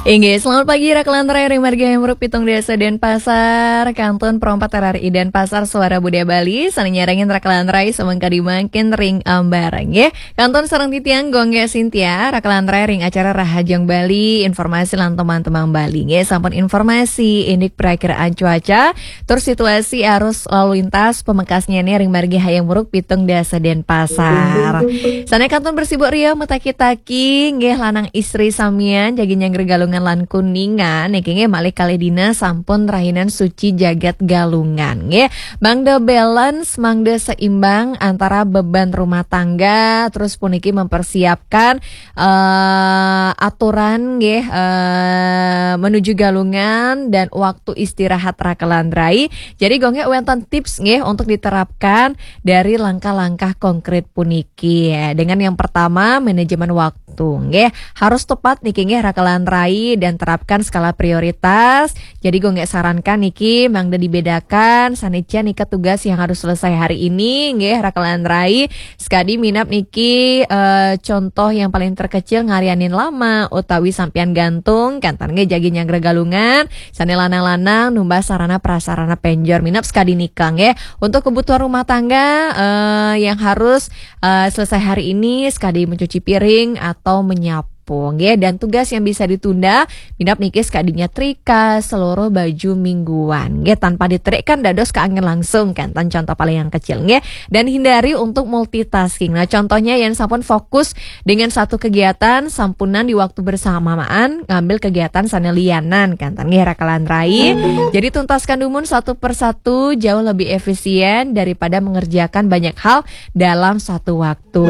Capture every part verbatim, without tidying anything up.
Inggih, selamat pagi Rakelan Rai ring margi Hayam Wuruk pitung dasa Denpasar, kantun perempat R R I Denpasar, Suara Budaya Bali, sané nyarengin Rakelan Rai samangkadi mangkin ring ambarang, nggih. Kantun sareng titiang Gung Gék Sintia, Rakelan Rai ring acara Rahajeng Bali, informasi lan tembang-tembang Bali, nggih. Sampun informasi, indik perakiraan cuaca, tur situasi arus lalu lintas pamekasnyané ring margi Hayam Wuruk pitung dasa Denpasar. Sané kantun bersibuk ria mataki-taki, nggih, lanang istri samian, jagi nyanggra Galungan lan Kuningan, niki nggih malih kalih dina sampun rahinan suci jagat Galungan, nggih. Mangda balance, mangda seimbang antara beban rumah tangga, terus puniki mempersiapkan eh, aturan nggih, eh, menuju Galungan dan waktu istirahat Rakelan Rai. Jadi Gung Gék wénten tips nggih untuk diterapkan dari langkah-langkah konkret puniki. Dengan yang pertama, manajemen waktu nggih. Harus tepat niki nggih Rakelan Rai dan terapkan skala prioritas. Jadi Gung Gék sarankan niki mangda dibedakan sané nika tugas yang harus selesai hari ini nggih Rakelan Rai. Sekadi minab niki, eh, contoh yang paling terkecil, ngarianin lama utawi sampian gantung, kénten nggih jagi nyanggra Galungan, sané lanang-lanang numbas sarana prasarana penjor, minab sekadi nika nggih. Untuk kebutuhan rumah tangga, eh, yang harus, eh, selesai hari ini, sekadi mencuci piring atau menyapu nggih, dan tugas yang bisa ditunda, minab niki sekadi nyetrika seluruh baju mingguan nggih, tanpa diterik kan dados kaangen langsung, kénten contoh paling yang kecil nggih. Dan hindari untuk multitasking. Nah, contohnya yén sampun fokus dengan satu kegiatan, sampunang di waktu bersamaan ngambil kegiatan sané lianan, kénten nggih Rakelan Rai. Jadi tuntaskan dumun satu persatu jauh lebih efisien daripada mengerjakan banyak hal dalam satu waktu.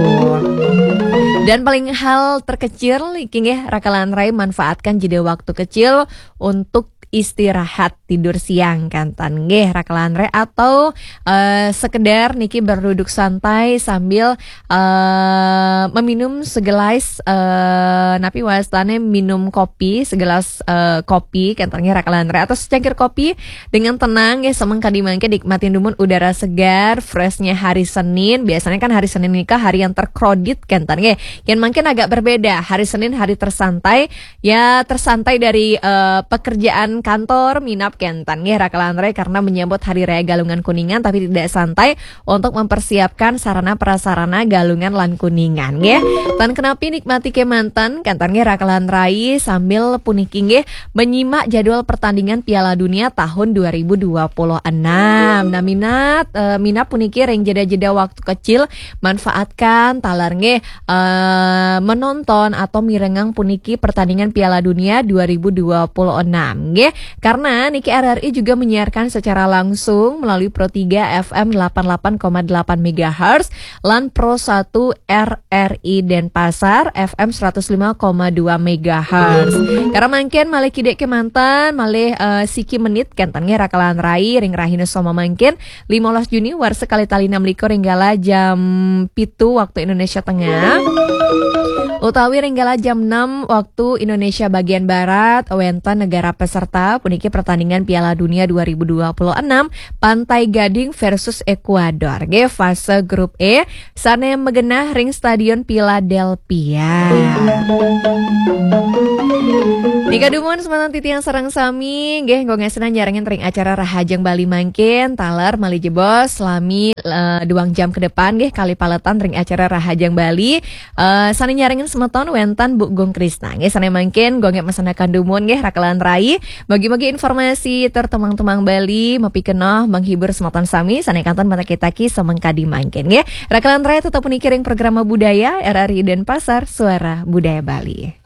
Dan paling hal terkecil, iki nggih Rakelan Rai, manfaatkan jeda waktu kecil untuk istirahat, tidur siang, kénten nggih Rakelan Rai, atau eh, sekedar niki berduduk santai sambil eh, meminum segelas, eh, napi wastané, minum kopi, segelas eh, kopi, kénten nggih Rakelan Rai, atau secangkir kopi dengan tenang nggih, samangkadi mangkin nikmatin dumun udara segar, freshnya hari Senin. Biasanya kan hari Senin nika hari yang terkrodit, kénten nggih. Yén mangkin agak berbeda, hari Senin hari tersantai, ya tersantai dari eh, pekerjaan kantor, minab kénten nggih Rakelan Rai, karena menyambut Hari Raya Galungan Kuningan, tapi tidak santai untuk mempersiapkan sarana prasarana Galungan lan Kuningan nggih. Tan kenapi, nikmati kémanten, kénten nggih Rakelan Rai, sambil puniki nggih menyimak jadwal pertandingan Piala Dunia tahun dua ribu dua puluh enam. Nah, minat eh, minab puniki ring jeda-jeda waktu kecil, manfaatkan taler nggih eh, menonton atau mirengang puniki pertandingan Piala Dunia dua ribu dua puluh enam nggih. Karena niki R R I juga menyiarkan secara langsung melalui Pro tiga F M delapan delapan koma delapan megahertz lan Pro satu R R I Denpasar F M seratus lima koma dua megahertz. Karena mangkin malih kidik kémanten, malih eh, siki menit, kénten nggih Rakelan Rai, ring rahina samangkin, limolas Juni warsa kalih tali enam likur, ring kala jam pitu waktu Indonesia Tengah, utawi ring kala jam enam waktu Indonesia bagian barat, wénten negara peserta puniki pertandingan Piala Dunia dua ribu dua puluh enam, Pantai Gading versus Ekuador nggih, fase grup E, sané magenah ring Stadion Philadelphia. Nika dumun semeton titiang sareng sami, nggih, Gung Gék nyarengin ring acara Rahajeng Bali mangkin, taler malih jebos salami eh, duang jam ke depan nggih, kalih paletan ring acara Rahajeng Bali. Eh, sané nyarengin semeton wénten Bu Gung Krisna nggih, sané mangkin Gung Gék masandekan dumun nggih Rakelan Rai. Mugi-mugi informasi tur tembang-tembang Bali mapikenoh menghibur semeton sami, sané kantun mataki-taki samangkadi mangkin nggih. Rakelan Rai, tetep puniki ring Programa Budaya R R I Denpasar, Suara Budaya Bali.